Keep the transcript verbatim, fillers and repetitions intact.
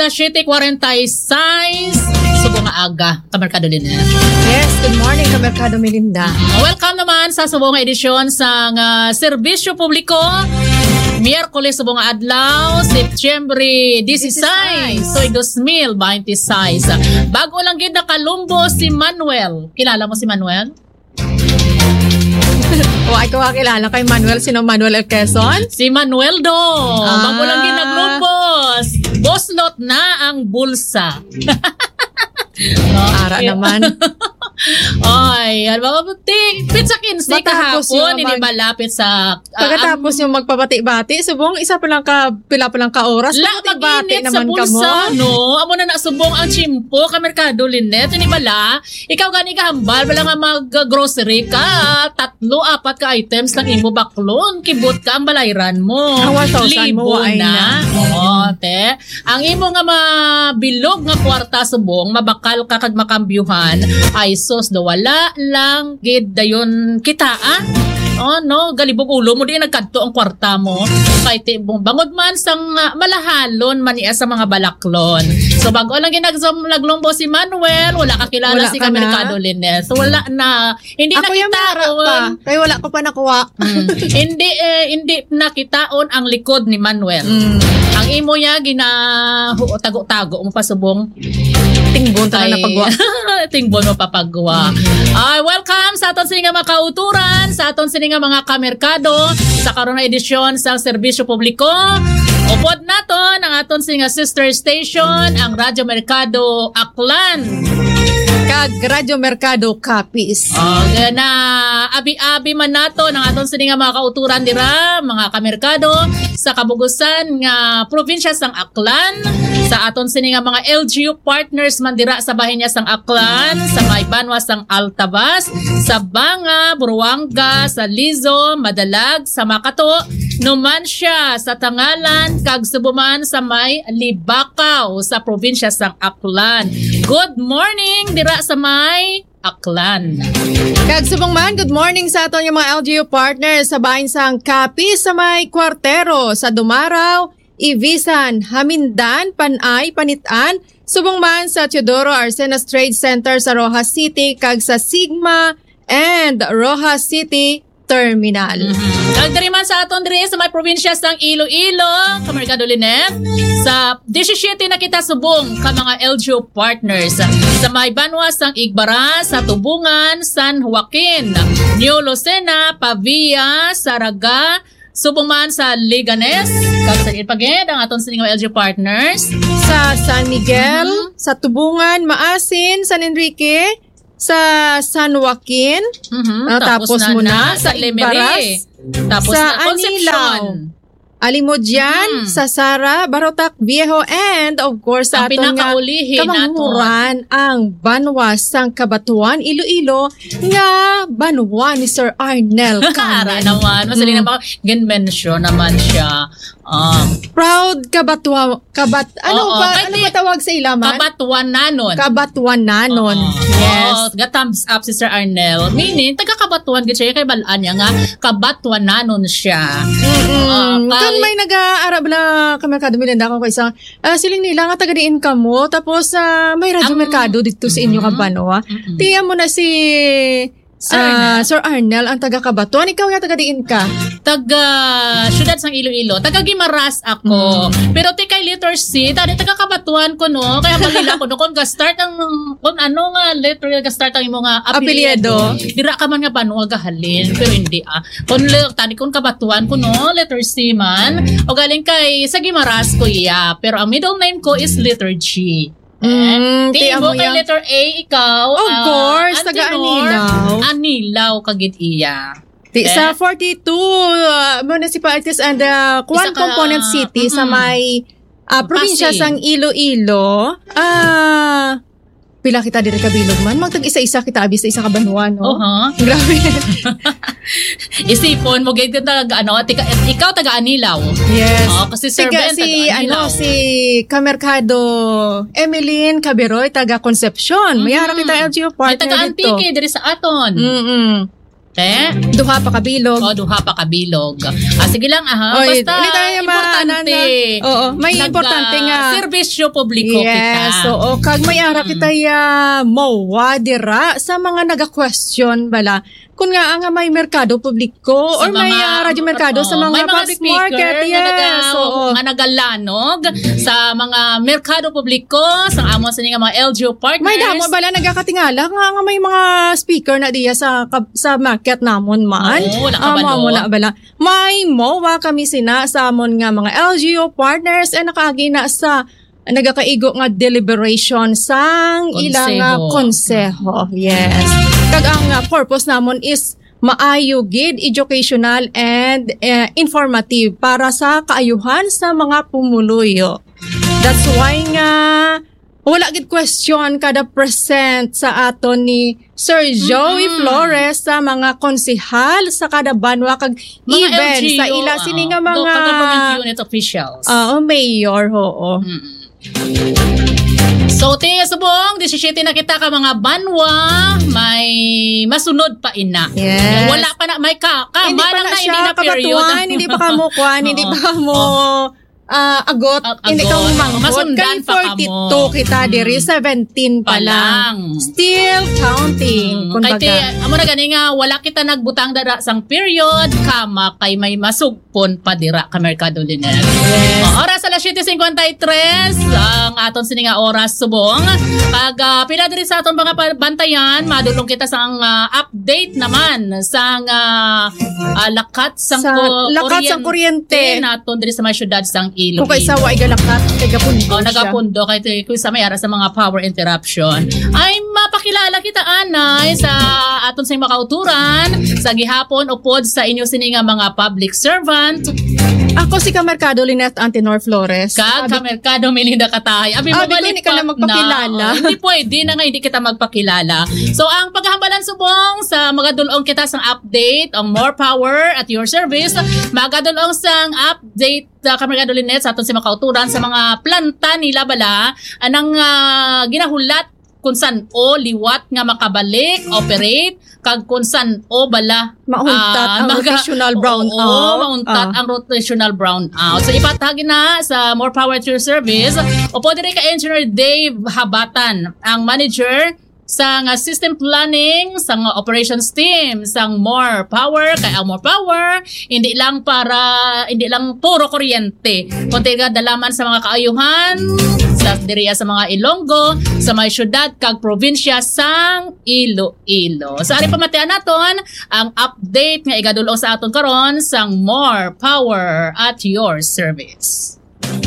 Siyete kuwarenta y seis, subong nga aga, Kamerkado Lynette. Yes, good morning, Kamerkado Melinda. Welcome naman sa subong nga edisyon sang, ah, Serbisyo Publiko. Miyerkules subong nga adlaw, Setyembre dieciséis, Dieciséis. Tuig dos mil veintiséis. Bago lang gid nakalumbo si Manuel. Kilala mo si Manuel? Wa ko kakilala kay Manuel. Sino, Manuel El Quezon? Si Manuel do. Ah. Bago lang gid naglumbos. Boslot na ang bulsa. Ara Okay. naman. Oy, ano ba, ting, pizza kinsi Matapos kahapon, yung hindi mag- ba lapit sa, ah, Pagkatapos ang yung magpabati-bati, subong isa pa lang ka, pila pa lang ka oras, La, pabati-bati mag-init sa naman ka bulsa, mo. No? Amo na na subong ang tiyempo, Kamerkado Lynette, hindi ba la? Ikaw gani kahambal, wala nga mag-grocery ka, tatlo, apat ka items lang imo baklon, kibot ka ang balayran mo. Ang one thousand mo, Libo wa ay na. na. Oo, te. Ang imo nga mabilog nga kwarta subong, mabakal ka kag makambyuhan, ay sus, do wala lang gid dayon kita, ah. Oh, no, galibog ulo mo di nagkadto ang kwarta mo. Kay ti-, bangod man sang, ah, malahalon man niya sa mga balaklon. So, bago lang gid nagzom-, naglumbo si Manuel, wala ka kilala Wala si ka na. Kamerkado Lynette. Wala na. Hindi Ako yung nakita mara on. pa. Kay wala ko pa nakuha. Mm. Hindi, eh, hindi nakitaon ang likod ni Manuel. Mm. Ang imo niya, ginahu-, tago-tago mo pa subong. Tingbon ta na Ay, napagwa. Tingbon mo papagwa. Mm. Ah, welcome sa aton sini nga mga kauturan, sa aton sini nga mga kamerkado, sa karon nga edisyon sa Serbisyo Publiko. Upod naton ang aton sini nga sister station, ang Radyo Merkado Aklan. Kag Radyo Merkado Capiz. Oh, na abi-abi man nato ang aton sini nga mga kauturan dira, mga kamerkado, sa kabugusan nga probinsya sang Aklan, sa aton sini nga mga L G U partners man dira sa bahin niya sang Aklan, sa may banwa sang Altavas, sa Banga, Buruanga, sa Lizo, Madalag, sa Makato, Numancia, sa Tangalan, kag subo man sa may Libacao, sa probinsya sang Aklan. Good morning dira sa may Aklan. Kag subong man, good morning sa aton nga mga L G U partners sa bahin sang Capiz, sa may Cuartero, sa Dumarao, Ibisan, Jamindan, Panay, Panit-an, subong man sa Teodoro Arcenas Trade Center sa Roxas City kag sa Sigma and Roxas City Terminal. Mhm. Kag diri man sa aton diri sa may probinsya sang Iloilo, Kamerkado Lynette, sa disisyete na kita subong ka mga L G U partners sa may banwa sang Igbaras, sa Tubungan, San Joaquin, New Lucena, Pavia, Saraga, subong man sa Leganes, kag sa Ipaged, ang aton sini nga L G U partners. Sa San Miguel, Mhm. sa Tubungan, Maasin, San Enrique, sa San Joaquin, Mhm. ah, Tapos tapos na mo na, na sa sa Lemery. Igbaras, Tapos sa na Anilao, Concepcion. Alimodian, Mhm. sa Sara, Barotac Viejo, and of course, sa Ang aton nga pinakaulihi naton. Kamanguran, ang banwa sang Cabatuan, Iloilo, nga banwa ni Sir Arnel Ara Canel. naman, masali Mm. naman, gin-mention naman siya. Um, Proud Kabatua-, Kabat-, ano Oo, ba, kay ano ti-, ba tawag sa ilaman? Kabatuananon. Kabatuananon. Oo. Yes. Oo, ga-thumbs up si Sir Arnel. Meaning, taga Kabatuan gid siya, kay balaan niya nga Kabatuananon siya. Mm-mm. Oo, Kung kay may nag-aarab na Kamerkado Melinda, ako kay isang, ah, siling nila nga taga diin kamo, tapos, ah, may Radyo Ang Merkado dito sa inyo Mm-mm. kabanwa. Mm-mm. Tiyan mo na si Sir ah, Arnel. Sir Arnel, ang taga Kabatuan. Ikaw nga, taga diin ka? Taga siyudad sang Iloilo. Taga Guimaras ako. Mm. Pero ti kay letter C, tani taga Kabatuan ko, no? Kaya malila ko, no? Kung ga-start ang, kung ano nga letter ga-start ang imo nga apelyido, Apelyido. dira ka man nga banwa gahalin. Pero hindi, ah. Kung le-, tani kung Kabatuan ko, no? Letter C man. O galing kay, sa Guimaras ko, iya. Pero ang middle name ko is letter G. Mm, Ti ti amo kay ya. letter A, ikaw, Of ah, course, taga Antinor, Anilao. Anilao, kagid iya. Ti, Eh? sa forty-two, ah, municipalities and, ah, Isa one ka, component city sa mm-mm. may, ah, probinsya Pasig. sang Iloilo, ah, pila kita diri kabilog man? Magtag-isa-isa kita abi sa isa ka banwa, no? Oha. Grabe. Isipon mo, gid ka taga, ano, tika-, ikaw taga Anilao. Yes. Oo, kasi Sir Tiga Ben, si, taga Anilao. ano, si Kamerkado Emeline Caberoy, taga Concepcion. May ara Mhm. kita L G U May partner taga dito. Antique, diri sa aton. Mm-mm. Te? Duha pa ka bilog. O, duha pa ka bilog. Ah, sige lang, aha. Oy, basta hindi tayo importante. Oo, may importante nga serbisyo publiko kita. Yes, oo. Kag may ara kita ya mowa dira sa mga naga-question bala. Kung nga nga may merkado publiko or may, ah, radyo merkado sa mga public market, yes, oo, nga nagalanog sa mga merkado publiko, sa amo sa nga mga L G U partners. May damo bala nagakatingala nga, nga may mga speaker na diya sa kab-, sa market namon man. Oo, wala ka ba, amo na bala. May mowa kami sina sa amon nga mga L G U partners and nakaagi na sa nagakaigo nga deliberation sang ila nga konseho. Yes. Kag ang, ah, purpose namon is maayo gid, educational and, eh, informative para sa kaayuhan sa mga pumuluyo. That's why nga wala gid question kada present sa aton ni Sir Joey Flores sa mga konsehal sa kada banwa kag even sa ila sini nga mga government unit officials. Oo, mayor, oo. So, ti subong, disisiyete na kita ka mga banwa, may masunod pa ina. Yes. Wala pa na, may ka, ka, hindi pa na siya kabatuan, hindi pa kamo kuan, hindi pa kamo ah, agot, hindi ka manggot. Masundan pa kamo. Kay forty-two kita diri, seventeen pa lang. Still counting, kumbaga. Kay ti, amo na gani nga, wala kita nagbutang dara sang period, kama kay may masugpon pa dira ka Merkado Linet. Yes. O, oras alas siyete cincuenta y tres, ang aton sini nga oras subong. Kag, ah, pila diri sa aton mga pa-, bantayan, madulong kita sang, ah, update naman sang, ah, ah, lakat sang ku-, lakat sang kuryente naton diri sa may syudad sang Iloilo. Kung kaysa wa igalakat, kay gapundo siya. O, nagapundo kay ti-, kung sa may ara sa mga power interruption. Ay, mapakilala kita, anay, sa aton sa mga kauturan, sa gihapon, upod sa inyo sini nga mga public servant. Ako si Kamerkado Lynette Antenor Flores. Kag Kamerkado Melinda Katahay. Abi, mabalik ka na magpakilala. O, hindi pwede na nga hindi kita magpakilala. So, ang paghambalan subong sa magadulong kita sang update, ang More Power at Your Service, magadulong sang update, ah, Kamerkado Lynette, sa aton si makauturan sa mga planta nila bala, anang, ah, ginahulat kung san-o liwat nga makabalik, operate, kag kung san-o bala, mauntat ah, ang maga-, rotational brownout. Oo, mauntat ang rotational brownout. So, ipatag na sa More Power to Your Service. O pwede rin ka Engineer Dave Habatan, ang manager sa nga system planning, sa nga operations team, sang More Power, kay ang More Power, hindi lang para, hindi lang puro kuryente, kundi nga dalaman sa mga kaayuhan, sa diriya sa mga Ilonggo, sa may syudad, kag probinsya sang Iloilo. So, ari pamatian naton ang update nga igadulong sa aton karon sang More Power at Your Service.